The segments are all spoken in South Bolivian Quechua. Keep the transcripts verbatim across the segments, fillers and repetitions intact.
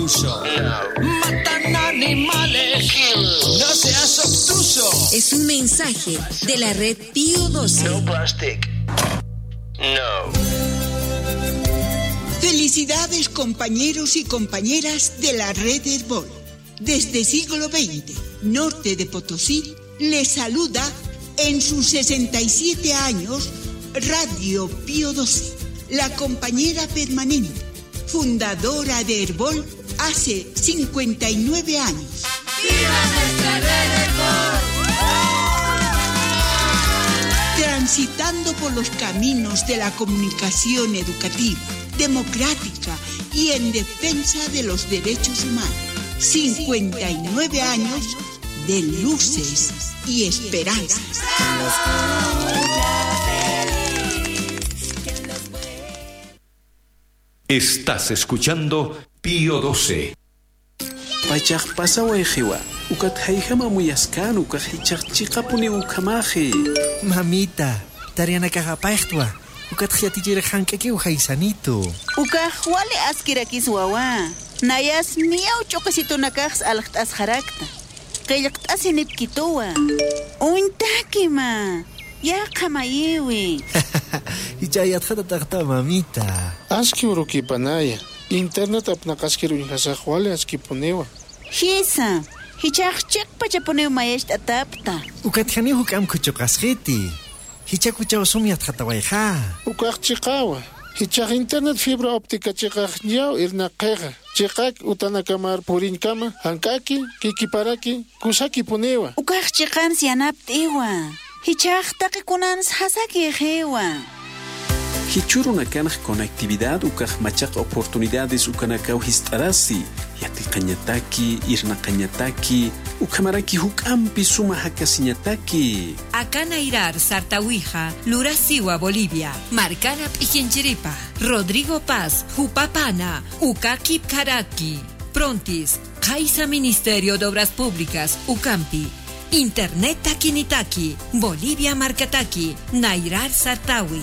Matan animales. No seas obtuso. Es un mensaje de la red Pío doce. No plastic. No. Felicidades, compañeros y compañeras de la red Herbol. Desde siglo veinte, norte de Potosí, les saluda en sus sesenta y siete años Radio Pío doce, la compañera permanente, fundadora de Herbol hace cincuenta y nueve años. ¡Viva nuestra red Herbol! Transitando por los caminos de la comunicación educativa, democrática y en defensa de los derechos humanos. cincuenta y nueve años de luces y esperanzas. Estás escuchando Pío doce. Pachaq pasawayqiwa, ukat hayhama muyaskan ukaq hichaq chiqapuni ukamaji. Mamita, tarianakaqapayqtwa, ukat hiatichira hank'akiw haysanito. Ukaq wali askirakis wawa, nayas miyaw ch'uqisitunakaqs alqt'as harakta. Qillqt'asi nipkituwa. Untakima, yaqa mayiwi. Hichayatqata taqta mamita. Aski urukipanaya. Internet apnaqaskiru inhasaq wali askipuniwa. Hisa, hichaq chiqpachapunew mayashta atapta. Ukatjani huk amkuchuqasqiti. Hichakuchaw sumyatqatawayqa. Ukaq chiqawa. Hichaq internet fibra óptica chiqaq ñaw irnaqiqa. Chiqak utanakamar purinkama, hankaki, kikiparaki, kusaki puniwa. Ukaq chiqans yanapt'iwa. Hichaq taqikunans hasaki qiwa. Hichuruna kanaj conectividad ukaj machaq oportunidades ukanakaw hist'arasi yatiqañataki irnaqañataki ukamaraki huk'ampi suma hakasiñataki. Akanairar Sartawija, Lurasiwa, Bolivia, Marcana Pijinchiripa, Rodrigo Paz, Jupapana, Ukaki Karaki, Prontis, Kaisa Ministerio de Obras Públicas, Ucampi, Internet Takinitaki, Bolivia Marcataki, Nairar Sartawi.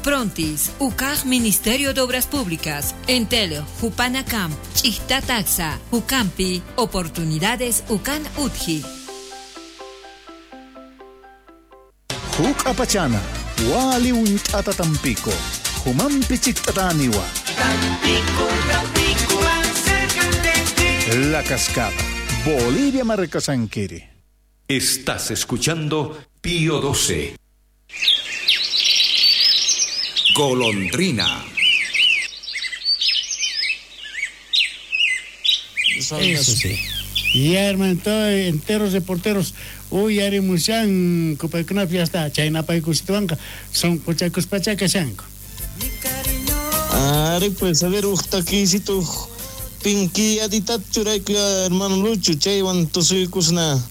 Prontis, U C A J Ministerio de Obras Públicas, Entel, Jupanacamp, Chichtataxa, Ucampi, Oportunidades Ucan Utji. Huk apachana, wali untata tampico, humampi chiktataniwa. Tampico, Tampico, acércate. La Cascada, Bolivia Marcasanquiri. Estás escuchando Pío doce. Golondrina. Eso sí. Ya, hermano, enteros reporteros. Uy, arimushan, kupaykunap ya está. Chaynapaykusituanqa, son kuchakuspachakashanku. Ari, pues, a ver, uqtakisito, pinki aditat churayku, hermano Lucho, chaywan tusuykusna.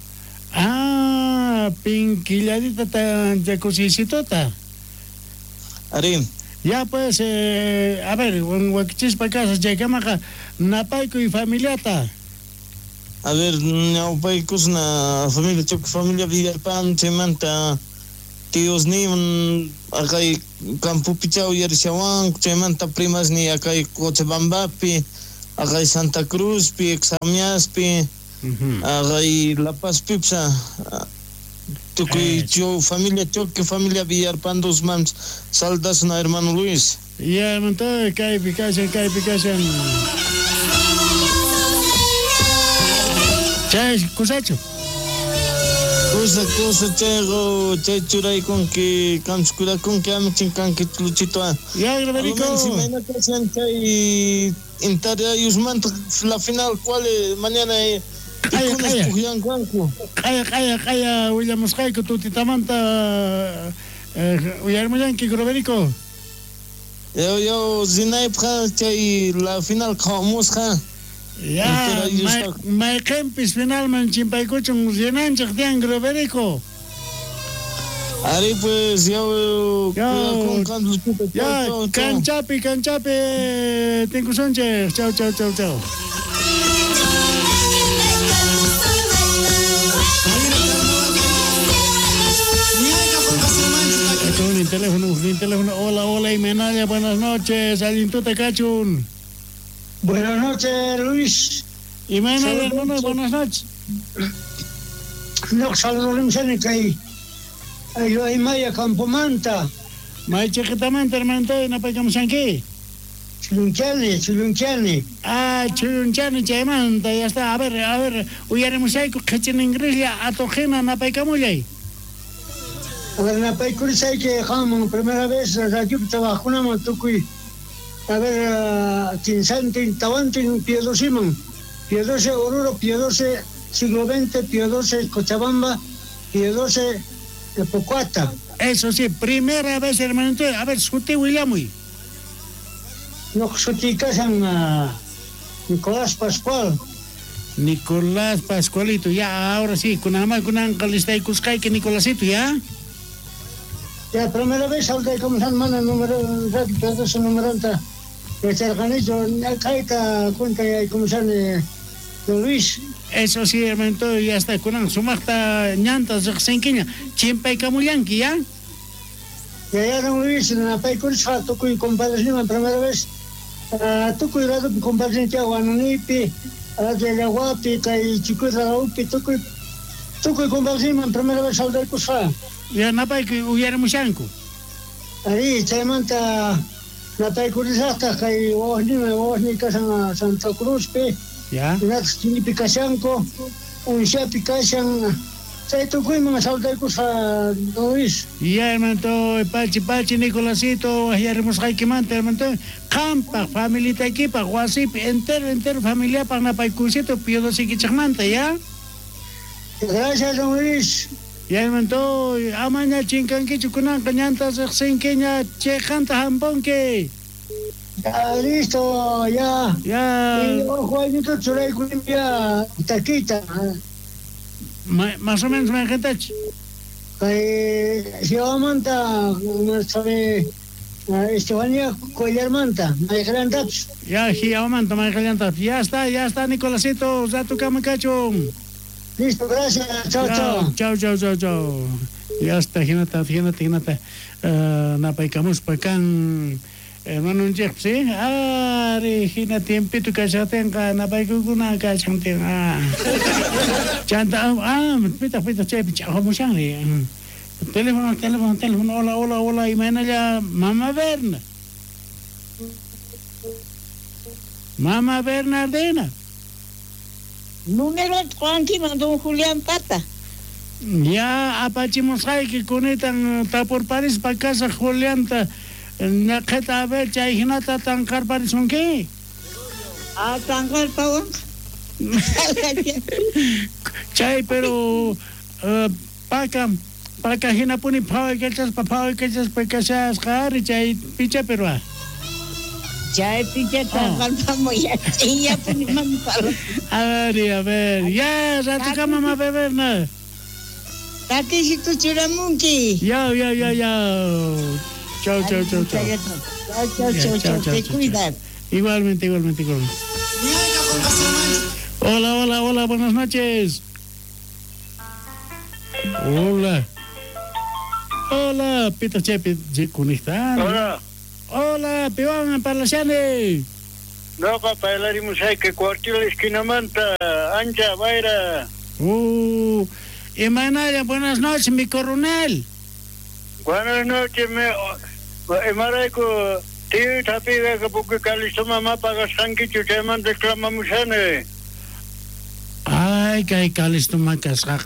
Ah, pinkilladita tanchakusisitota. Ari. Ya pues, eh, a ver, wakichispa casa, chaykamaqa napayku y familiata. A ver, ñawpaykusna familia, choque familia Villalpan, chaymanta tíos ni akay campopichaw yarishawanku, chaymanta primas ni akay Cochabambapi, akay Santa Cruzpi, Examiaspi, akay La Paz pipsa. Tukuy cho familia choque familia Villarpan dos mams saldasna hermano Luis. Ya, hermano, kaypi kashan, kaypi kashan. Chay, kusachu. Kusa, kusa, chaygo, chay churaykunki, kamchkurakunki, amichinkanki, Luchito. Ya, Graverico. Si mañana kashan chay Inter la final, ¿cuál es? Mañana eh, Qaya, qaya. Qaya, qaya, qaya, willamusqayku tutitamanta uyarmullanki, Groverico. Yo, yo, rinaypqa chay la final qhawamusqa. Ya, mayqinpis finalman chimpaykuchun rinanchik tiyan, Groverico. Ari pues, yo, yo, ya, canchapi, canchapi, tinkusunchik. Chau, chau, chau, chau. Con el teléfono, el teléfono. Hola, hola, Imenaya, buenas noches. Allintuta kachun. Buenas noches, Luis. Y mañana, hermano, buenas noches. No, saludos, kay Aymaya Campomanta. May chiquitamanta, hermano, napaykamushanki. Chulunchani, Chulunchani. Ah, Chulunchani, chaymanta, ya está. A ver, a ver, uyarimushayku qhichin ingrislla atojina napaykamullay. A ver, napaykurisayki qaman primera vez radiopi trabajakunaman tukuy. A ver, quinsantin, tawantin, Piedosiman. Piedose Oruro, Piedose siglo veinte, Piedose Cochabamba, Piedose Pocuata. Eso sí, primera vez, hermanito. A ver, suti willamuy. No, suti kasan uh, Nicolás Pascual. Nicolás Pascualito, ya, ahora sí, kunama kunanqa listaykusqayki Nicolásito, ya. Ya, primera vez saludaykamusan mana número, radio numeranta. Yacharqanichu, kayta cuenta yaykumusani don Luis. Eso sí, hermanito, ya está, kunan sumaqta ñanta riqsinkiña, chimpaykamullanki, ya. Ya, ya, don Luis, napaykurisqa tukuy compadresniman primera vez, uh, tukuy radupi compadresnicha Huanunipi, Llaguapi, kay Chikuy tukuy, tukuy compadresniman primera vez saludaykusqa. Ya, napaykuy uyarimushanku. Ari, chaymanta napaykurisaqtaq kay wawasniman, wawasni kasan Santa Cruzpi. Ya. Hinataq Chinipi kashanku, Unshapi kashan. Chay tukuyman saludaykusqa don Luis. Ya, hermanito, pachi, pachi, Nicolásito, waqyarimusqaykimanta, hermanito, qampaq, familitaykipaq, wasipi, entero, entero familiapaq napaykusito, piodosikichikmanta, ya. Gracias, don Luis. Ya, hermanito, amaña chinkankichu kunanqa ñanta riqsinkiña, chayqanta hampunki. Ya, listo, ya. Ya. Y ojo, aynito churaykunim ya taquita. Ma, más o menos mayqintach. Kay Jiawamanta, sabe, Estefanía Cuellarmanta, mayqillantapis. Ya, Jiawamanta, mayqillantapis. Ya está, ya está, Nicolásito, ratukama kachun. Listo, gracias. Chao, chao. Chao, chao, chao, chao. Ya está, hinata, hinata, hinata. Uh, napaykamuspa kan hermanonchikpis, ¿sí? Ari, hina tiempito kashatinqa napaykukuna kashantin. Ah. Chanta, ah, pitaq, pitaq, chaypi ch'aqamushanri. Teléfono, teléfono, teléfono. Hola, hola, hola. Imaynalla, Mama Berna. Mama Bernardina. Número Juanquiman, don Julián Pata. Ya, apachimusqayki kunitan tapurparispa kasaq Julianta. Naqhita a ver, chay hinata tanqarparisunki. Ah, tanqarpawan. Chay, pero uh, paka, paka hinapuni phawaykachaspa, phawaykachaspa kashasqa ari chay picha pero ah. Chay picha tanqarpamuy, chayllapuni mana palo. A ver, a ver, ya, ratukama mama Berna. Takisito churamunki. Ya, ya, ya, ya. Chao, chao, chao, chao. Chao, chao, chao, te cuidas. Igualmente, igualmente, igualmente. Hola, hola, hola, buenas noches. Hola. Hola, Pito Chepi, conectando. Hola. Hola, Piwan Parlashani. No, papá, que cuartil esquinamanta, ancha, vaira. Uh, Imanaya, buenas noches, mi coronel. Buenas noches, me imarayku tío tapiga porque Calisto mamá pagasqankichu chaymanta reclamamushani. Ay, kay Calisto makasqa.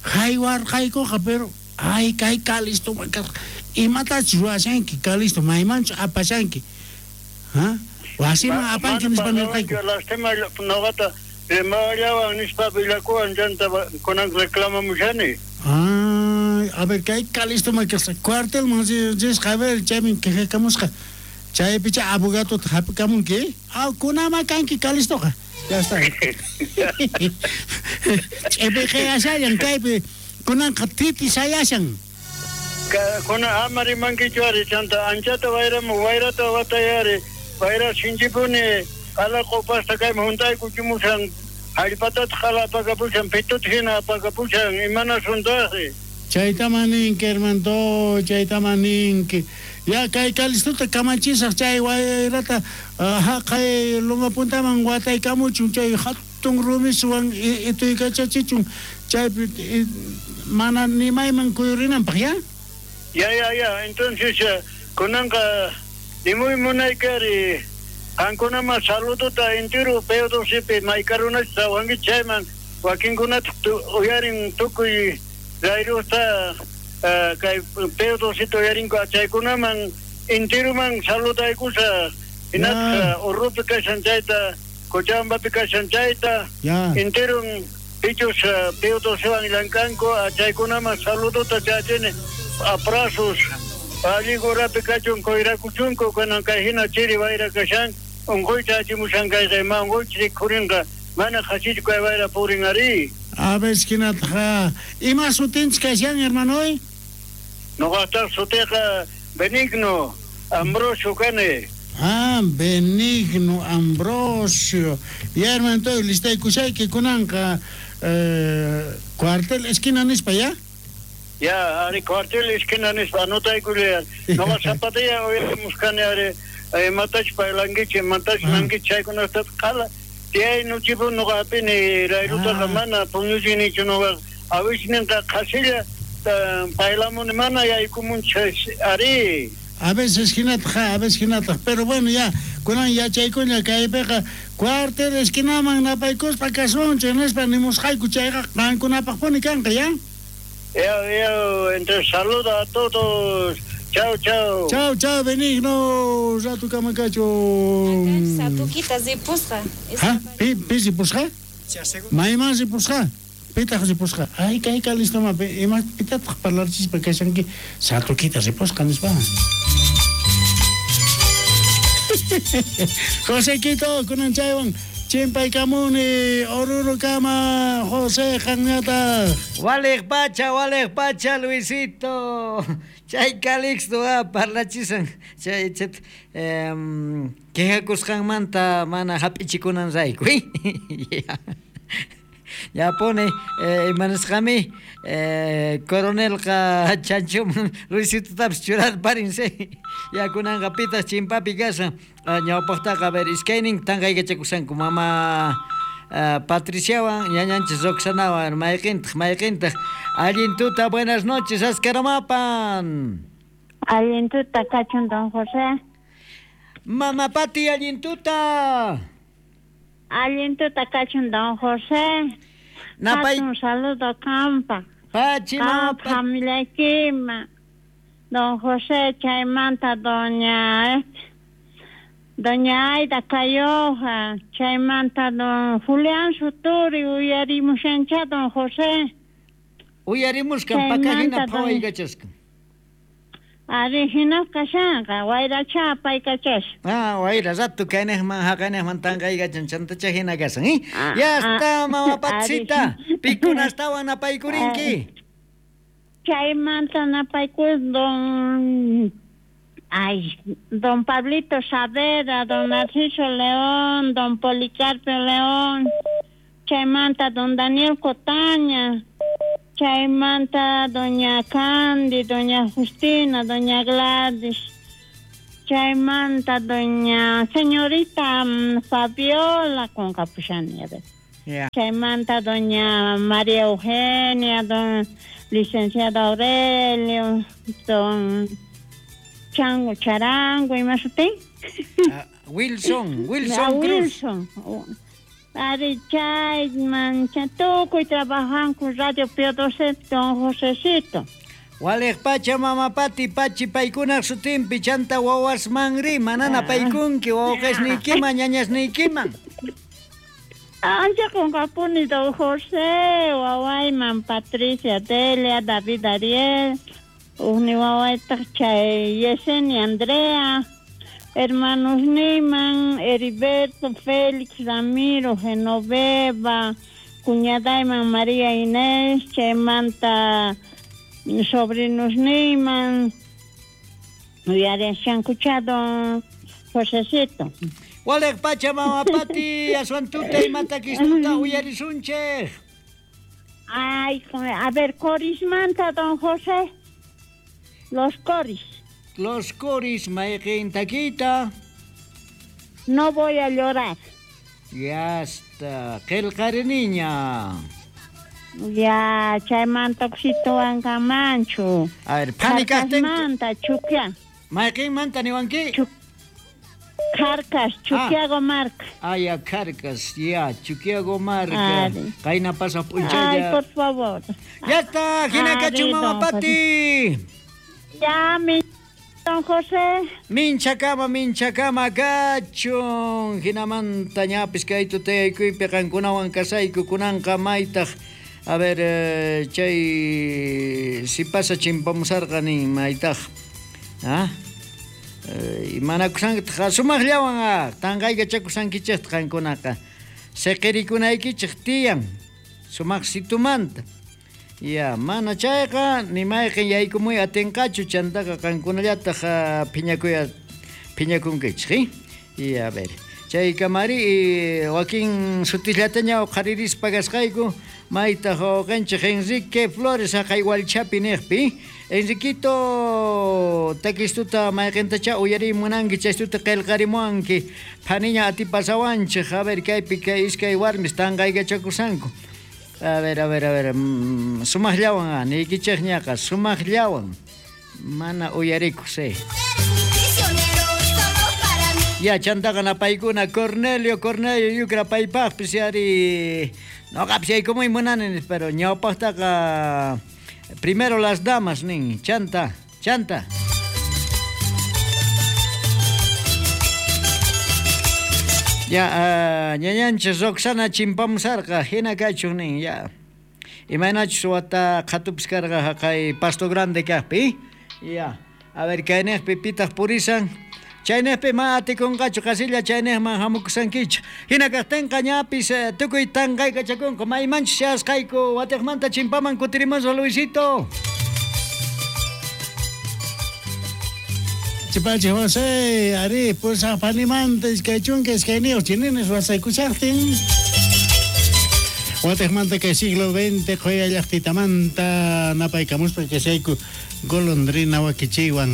Haywarqaykuqa, pero ay, kay Calisto makasqa. Imatachus ruwashanki, Calisto, maymanchu apashanki. ¿Ah? Wasiman apanki nispa nirqayku. Lastima noqata rimallawan nispa villakuwan chanta kunan reclamamushani. Ay, a ver, kay Calisto makasqa. Cuartelman risqa, a ver, chaymi quejakamusqa. Chaypicha abogadota hap'ikamunki. Ah, kunama kanki Calistoqa. Ya está. Ch'ipiqiyashallan kaypi kunanqa titi sayashan. Kuna ama rimankichu ari chanta anchata wayramu wayrata watayari wayra sinchipuni qala qupasta kayman huntaykuchimushan hallpatata qala apakapushan pituta hina apakapushan imanasuntajri. Chaytaman ninki, hermanito, chaytaman ninki. Ya kay Calixtota kamachisaq chay wayrata haqay loma puntaman wataykamuchun chay hatun rumiswan ituykachachichun chaypi mana nimayman kuyurinanpaq ya. Ya ya ya entonces kunanqa nimuy munaykari qankunaman saludota entero P doce maykarunachu sawanki chayman wakinkunata uyarin tukuy rayrusta kay P doce uyarinku chaykunaman enteroman saludaykusa hinaspa Urrupi kashan chayta Cochabambapi kashan chayta enteron pichus P docewan llankanku chaykunaman saludota chachini abrazos alli horapi kachun kuyrakuchunku kunan kay hina chiri wayra kashan unquyta achimushan kayqa ima unquychik rikhurinqa mana qhasichu kay wayra purin ari. A ver, hinataqa ima sutinchik kashan hermanoy? Nuqaqtaq sutiqa Benigno Ambrosio kani. Ah, Benigno Ambrosio. Ya hermano, listaykushayki kunanqa eh, cuartel esquina nispa ya? Ya, ari cuartel esquina nispa anotaykullay. Nuqa zapatilla uyarimushkani ari imatach parlankichik imatach nankichik chaykunata qala tiyay nuchipu nuqa hapini rayrutaqa mana puñuchinichu nuqa awisninqa qhasilla paylamuni mana yaykumunchik ari. A veces hinataqa, a veces hinataqa, pero bueno ya kunan yachaykuña kaypiqa cuartel esquinaman napaykuspa kasunchik nispa nimusqayku chayqa qankunapaqpuni kanqa ya. Ya, ya, entonces saluda a todos. Chao, chao. Chao, chao, Benigno. Rato kamakacho. Satukita ripusqa. ¿Ah? Pi, pi ripusqa? Mayman ripusqa? Pitaq ripusqa? Ay, kay Calixto ma, ima pitataq parlarchispa kashanki satukita ripusqa nispa. José Quito, kunan chaywan chimpaykamuni Orurukama José qanñataq. Waliq pacha, waliq pacha, Luisito. Chay Calixto ah, parlachisan chay chet em quejakusqanmanta mana hap'ichikunan rayku. Ya pone eh, imanasqami eh, coronelqa chanchuman Luisitotapis churarparinse. Ya kunanqa pitas chimpapi kashan ñawpaqtaqa a ver iskaynin tanqaykachakushanku mama uh, Patriciawan ñañanchis Roxanawan mayqintaq mayqintaq allin tuta buenas noches Ascaramapan. Allin tuta kachun don José. Mama Pati allin tuta. Allin tuta kachun don José. Napay un saludo kampa. Pachi mama familiaykima. Don José chaymanta doña Doña Aida Cayoja, chaymanta don Julián Suturi, uyarimushancha don José. Uyarimuskan pakahina phawaykachaskan. Ari hina kashanqa, wayracha paykachash. Ah, wayra rato kaynejman haqaynejman tanqaykachan chantacha hina kasan, ¿eh? Ya está, mama Patsita, pikunastawan napaykurinki. Chaymanta napaykus don Ay, don Pablito Saavedra, don Narciso León, don Policarpio León, chaymanta don Daniel Cotaña, chaymanta doña Candy, doña Justina, doña Gladys, chaymanta doña señorita Fabiola con Capuchani, a ver. Yeah. Chaymanta doña María Eugenia, don licenciado Aurelio, don Chango Charango y más usted. Uh, Wilson, Wilson Cruz. Wilson. Ari chay mancha tukuy trabajan con Radio Pío doce, don Josecito. Waliq pacha mama Pati pachi paykunaq sutinpi chanta wawasmanri manana paykunki wawqesniykiman ñañasniykiman. Ancha qunqapuni don José, wawayman Patricia Delia, David Ariel, ujni wawaytaq chay Yesenia Andrea, hermanos Niman, Heriberto, Félix, Ramiro, Genoveva, cuñadayman María Inés, chaymanta sobrinos Niman, uyarishankucha don Josecito. Waliq pacha mama Pati, aswan tuta imatakistuta uyarisunchej. Ay, a ver, corismanta don José. Los coris. Los Coris, mayqin takita. No voy a llorar. Ya está. Qillqariniña. Ya, chaymanta kusituwankamanchu. A ver, phani kaqtin. Manta chukya. Mayqinmanta niwanki? Carcas, Chuquiago Marca. Ah, ya, Carcas, ya, Chuquiago Marca. Qayna pasaq p'unchaylla. Ay, por favor. Ya está, hina kachun mama Pati. Ya, mi don José. Minchakama, minchakama kachun. Hinamanta ñapis kay tutayaykuypi qankunawan kasayku kunanqa maytaq. A ver, eh, chay si pasa chimpamusarqa nin maytaq. Ah? Eh, imanakusankitaq sumaqllawan ah, tanqaykachakusankichikta qankunaqa. Siqirikunaykichik tiyan sumaq situmanta. Ya, mana chayqa ni mayqin yaykumuy atinqachu chantaqa qankunallataq phiñakuya phiñakunkichik, eh? Y a ver, chaykamari wakin sutillataña uqharirispa kasqayku maytaq wawqinchik Enrique Flores haqay Walchapi niqpi. Enriquito, takistuta mayqintacha uyariy munanki chaystuta qillqarimuwanki phaniña atipasawanchik. A ver, kaypi kay iskay warmis tanqaykachakusanku. A ver, a ver, a ver, mm, sumaqllawan, niykichikñaqa, sumaqllawan. Mana uyarikus, eh. Ya, chantaqa napaykuna Cornelio, Cornelio yukra paypaqpis yari. Noqapis yaykumuy munani, pero ñawpaqtaqa primero las damas nin, chanta, chanta. Ya, uh, ñañanchis Roxana chimpamusarqa, hina kachun nin, ya. Imaynachus wata qhatupis karqa haqay Pasto Grande kaqpi, ya. A ver, kayniqpi pitaq purisan. Chayniqpi ma atikunqachu qasilla chayniqman hamukusankichik. Hina kaqtinqa ñapis tukuy tanqaykachakunku maymanchus chayasqayku watiqmanta chimpaman kutirimusqa Luisito. Chipachi José, ari, pusaq panimanta iskay chunka iskayniyuq chininis wasaykushaqtin. Watiqmanta kay siglo veinte qhuya llaqtitamanta napaykamuspa kashayku golondrina wakichiwan.